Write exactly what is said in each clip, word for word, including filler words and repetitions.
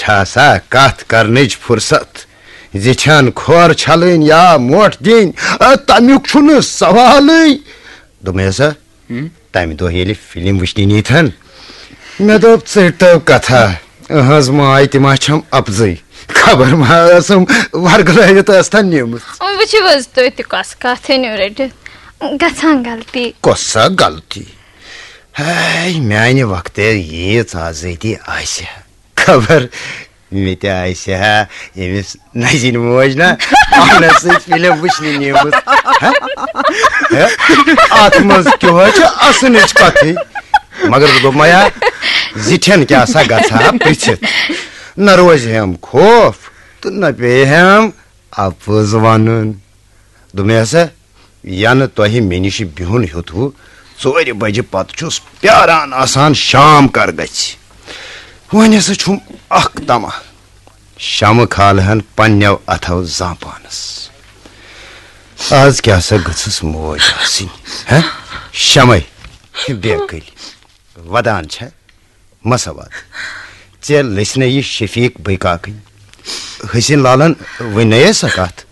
آسا کتھ کرنٕچ فرصت، زِٹھٮ۪ن کھۄر چھلٕنۍ یا مۄٹھ دِنۍ، آ، تمیُک چھُنہٕ سوالٕے۔ دوٚپمَے ہسا، ہم؟ تمہِ دۄہ ییٚلہِ فلم وٕچھنہِ نیٖتھن، مےٚ دوٚپ، "ژٔٹۍ تو کتھا، أہنٛز ماے تہِ ما چھم اپزٕے؟ خبر ما ٲسٕم ورگلٲوِتھ ٲستھن نیٖمٕژ۔" وۄنۍ وٕچھِو حظ تُہۍ تہِ کۄس کتھ ژھٕنِو رٔٹِتھ۔ گژھان غلطی۔ کۄس سا غلطی؟ ہے، میانہِ وقتہٕ ییٖژ آزٲدی آسہِ ہا۔ خبر مےٚ تہِ آسہِ ہا أمِس نزِنۍ موج نا پانس سۭتۍ فلم وٕچھنہِ نیٖمٕژ۔ ہہ؟ ہہ؟ اتھ منٛز کیٛاہ چھِ اسنٕچ کتھٕے؟ مگر بہٕ دوٚپ، میا، زِٹھٮ۪ن کیٛاہ سا گژھِ ہا پرژھِتھ؟ نہ روزِ ہٮ۪م خوف تہٕ نہ پیٚیہِ ہٮ۪م اپُز ونُن۔ دوٚپمَے ہسا، ینہٕ تۄہہِ مےٚ نِش بِہُن ہیوٚتوٕ، ژورِ بجہِ پتہٕ چھُس پیاران آسان شام کر گژھِ۔ وۄنۍ ہسا چھُم اکھ طمع، شمہٕ کھالہٕ ہن پننٮ۪و اتھو زانٛہہ پانس۔ از کیٛاہ سا گٔژھٕس موج آسٕنۍ، ہہ؟ شمے، بے عقل۔ ودان چھےٚ، مہ سا وَد۔ ژےٚ لٔسۍ نہ یہِ شفیق بٔے کاکٕنۍ؟ حسین لالن وۄنۍ نَیے سۄ کتھ۔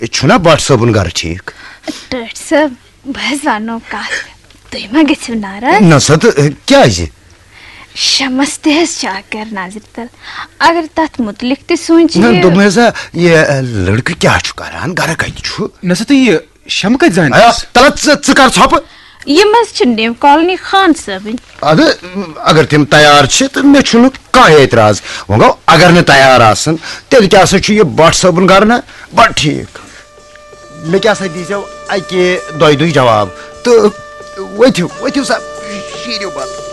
چھُنا بٹ صٲبُن گرٕ ٹھیٖک؟ ٹٲٹھۍ صٲب، بہٕ حظ ونو کتھ، تُہۍ ما گٔژھِو ناراض؟ نہ سا، تہٕ کیٛازِ؟ شمس تہِ حظ چھِ اکھ گرٕ نظرِ تل، اگر تتھ متعلق تہِ سوٗنٛچہِ نہ، یہِ۔ دوٚپمَے ہسا، یہِ لڑکہٕ کیٛاہ چھُ کران، گرٕ کتہِ چھُ؟ نہ سا، تہٕ یہِ شمہٕ کتہِ زانہِ آیا، تس؟ تلہ ژٕ، ژٕ کر ژھۄپہٕ۔ یِم حظ چھِ نِو کالنی خان صٲبٕنۍ۔ ادٕ، اگر تِم تیار چھِ، تہٕ مےٚ چھُنہٕ کانٛہہ اعتراض۔ وۄنۍ گوٚو، اگر نہٕ تیار آسن، تیٚلہِ کیٛاہ سا چھُ یہِ بٹ صٲبُن گرٕ نا؟ بڑٕ ٹھیٖک۔ مےٚ کیٛاہ سا دیٖزیو اَکہِ دۄیہِ دُے جواب۔ تہٕ ؤتھِو، ؤتھِو سا، شیٖرِو بتہٕ۔